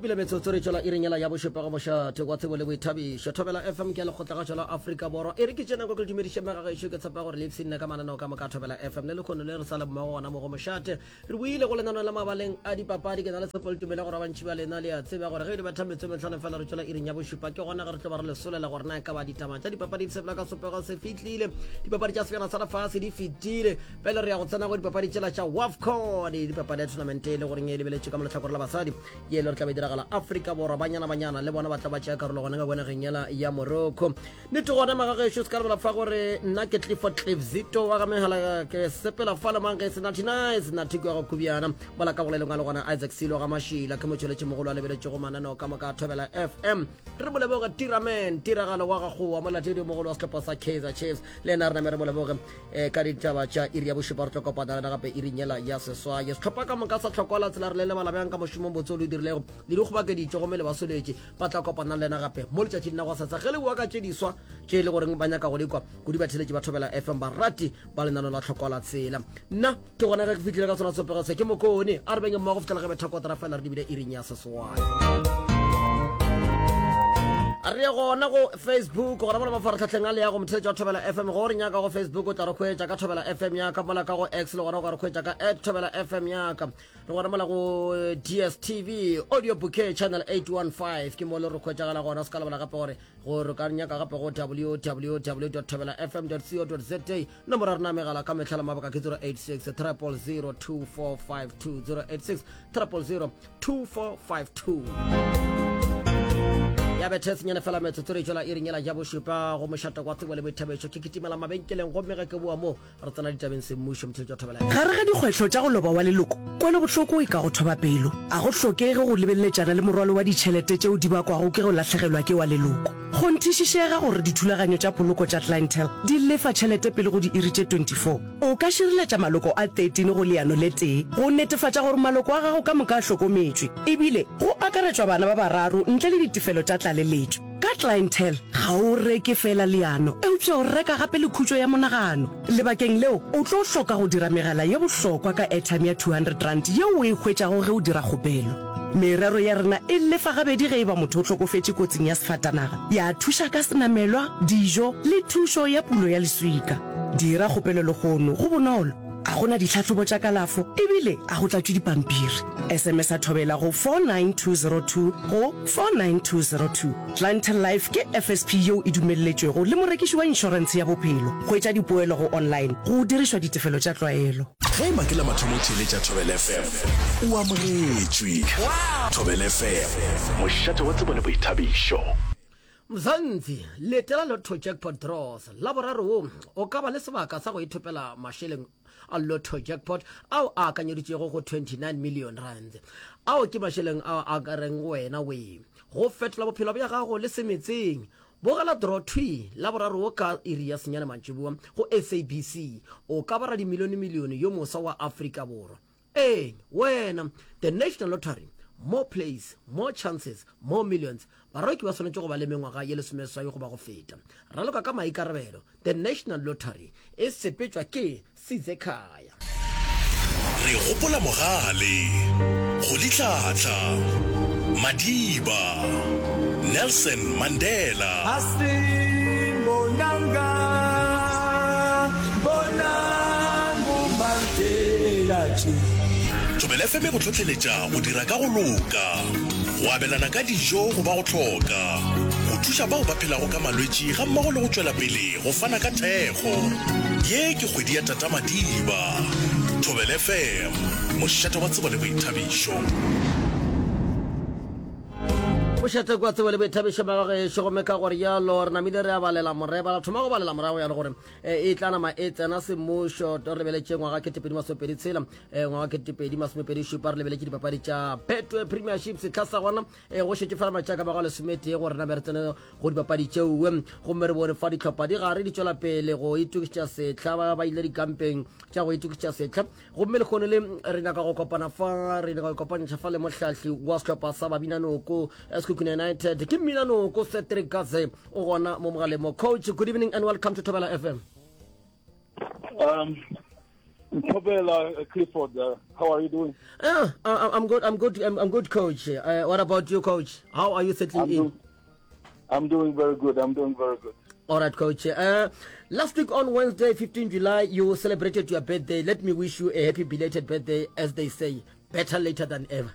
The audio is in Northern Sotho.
Šupile metsotso re tšwela iring yela ya bošupa go mošate wa tsebo le boithabišo. Thobela FM ke ya lekgotlagašo la Afrika Borwa. E re ke tše nako ke le dumediše megagešo, ke tshepa gore le ipshinne ka mananeo ka moka a Thobela FM le lekhono le re sa le mmogo gona mo go mošate. Re boile go lenaneo la mabaleng a dipapadi. Ke na le tshepo le tumelo ya gore ba bantši ba lena le a tseba gore ge e di betha metsotso e mehlano fela re tšwela iring ya bošupa, ke gona ge re tlo ba re le solela gore na e ka ba ditaba tša dipapadi di sepela ka sopego se fihlile. Dipapadi tša sebjana sa lefase di fetile. Pele re ya go tsena go dipapadi tšela tša WAFCON, dipapadi ya tournament e le goreng e lebeletše ka mo lehlakore la basadi, ye e le gore tla be e diragala Afrika Borwa. Banyana Banyana le bona ba tla ba tšea karolo gona ka kwa nageng yela ya Morocco. Nnete gona magagešo se ka lebala fa gore nna ke Clifford Cliff Zito wa ga Megala, ke sepela fa le mang ge se Natty Nice, Natty kwa go Kubiana, mola ka bolelong a le gona Isaac Silo ga Mašila, ke motšweletši mogolo a lebeletšego mananeo ka moka a Thobela FM. Re mo leboge Tiraman, tiragalo wa gagoa, molatedi mogolo wa sehlopha sa Kaizer Chiefs, le yena re name re mo leboge. E, ka ditaba tša iri ya bošupa re tlo kopana lena gape iring yela ya seswai. Sehlopha ka moka sa Tlhokola tsela re le lebala bjang ka mošomong botse o le dirilego le dikgobakeditše gomme le ba soletše. Ba tla kopana le lena gape mo letšatšing la go sasa ge le bua ka tše diswa tše e le goreng ba nyaka go di kwa kudu batheletši ba Thobela FM barati ba lenano la Tlhokola tsela. Nna ke gona ge ke fihlile ka sona sopego se ke mokone a re beng mmogo go fihlela ge betha kotara fela re dibile iring ya seswai. Re ye gona go Facebook gona mola mafaratlhatlheng a leago motheletši wa Thobela FM. Go re nyaka go Facebook o tla re hwetša ka Thobela FM ya ka, mola ka go X le gona o ka re hwetša ka at Thobela FM ya ka. Re gona mola go DSTV Audio Bouquet Channel 815 ke mo le re hwetšagala gona. Se ka lebala gape gore gore ka nyaka gape go www thobela fm co za. Nomoro ya rena ya megala ka mehla le mabaka ke 086 000 2452, 086 000 2452. Ya bethe senyane fela metsotso re tšwela iring yela ja bošupa go mošata kwa tsebo le boithabišo. Ke kitimela mabenkeleng gomme ge ke boa mo re tsena ditabeng semmušo motheletši wa Thobela. Gare ga dikgwetlho tša go loba wa leloko, kwelobohloko e ka go thoba pelo. A go hlokege go lebeleletšana le morwalo wa ditšhelete tšeo di bakwago ke go lahlegelwa ke wa leloko. Kgonthišišega gore dithulaganyo tša poloko tša Clientele di lefa tšhelete pele go diiri tše 24. O ka šireletša maloko a 13 go leano le tee go netefatša gore maloko a gago ka moka a hlokometšwe, ebile go akaretšwa bana ba bararo ntle le ditefelo tša tlaleletšo. Ka Clientele, ga o reke feela leano, eupša o reka gape le khutšo ya monagano. Lebakeng leo, o tlo hloka go dira megala ye bohlokwa ka airtime ya R200 yeo o e hwetšago ge o dira kgopelo. Merero ya rena e lefa gabedi ge e ba motho o hlokofetše kotsing ya sefatanaga, ya thuša ka senamelwa, dijo le thušo ya pulo ya leswika. Dira kgopelo lehono, go bonolo, ga go na ditlhahlobo tša kalafo ebile ga go tlatšwe dipampiri. SMS-a Thobela go 49202 go 49202. Clientele Life ke FSP yeo e dumelletšwego le morekiši wa inšorentshe ya bophelo. Hwetša dipoelo go online go dirišwa ditefelo tša tlwaelo. Ge e ba ke la mathomo o theeletša Thobela FM, o amogetšwe. Thobela FM, mošate wa tsebo le boithabišo. Mzansi, letela Lotto Jackpot Draws Laboraro wo o ka ba le sebaka sa go ithopela mašeleng a Lotto Jackpot ao a akanyeditšwego go 29 million rands. Ao ke mašeleng ao a ka reng go wena wee go fetola bophelo bja gago le semetseng. Bogela draw thwi Laboraro wo ka iri ya senyane mantšiboa go SABC. O ka ba radimilionemilione yo moswa wa Afrika Borwa. Ee, wena! The National Lottery, More plays, more chances, more millions. Baraloki ba swanetše go ba le mengwaga ye lesomeseswai goba go feta. Raloka ka maikarabelo. The National Lottery e sepetšwa ke Sizekhaya. Re gopola Mogale, Rolihlahla, Madiba, Nelson Mandela. Thobela FM e go hlohleletša go dira ka go loka, go abelana ka dijo go ba go hloka, go thuša bao ba phelago ka malwetši gammogo le go tšwela pele go fana ka thekgo. Ye ke kgwedi ya Tata Madiba. Thobela FM, mošate wa tsebo le boithabišo. Mošate kwa tsebo le boithabišo magagešo, gomme ka gore jalo re namile re a balela moreba, ra thoma go balela morago ya le gore e, e tla nama e tsena semmušo. Re lebeletše ngwaga 2026, e, ngwaga 2027, re lebeletše dipapadi tša Betway Premiership sehla sa gona. E, go šetše fela matšatši a ka bago lesometee gore name re tsene go dipapadi tšeoe, gomme re bone fa dihlopha di gare di tšwela pele go itokišetša sehla, ba ba ile dikampeng tša go itokišetša sehla. Gomme lehono le re nyaka go kopana fa, re nyaka go kopantšha fa le mohlahli wa sehlopha sa Babinanoko Sekhukhune United, ke Mminanoko Cedric Kaze, o gona mo mogaleng mo. Coach, good evening and welcome to Thobela FM. Thobela uh, Clifford, uh, how are you doing? Yeah, I, I'm good. I'm good. I'm, I'm good, coach. Uh, what about you, coach? How are you settling I'm in? Doing, I'm doing very good. I'm doing very good. All right, coach. Uh, last week on Wednesday, 15 July, you celebrated your birthday. Let me wish you a happy belated birthday, as they say. Better later than ever.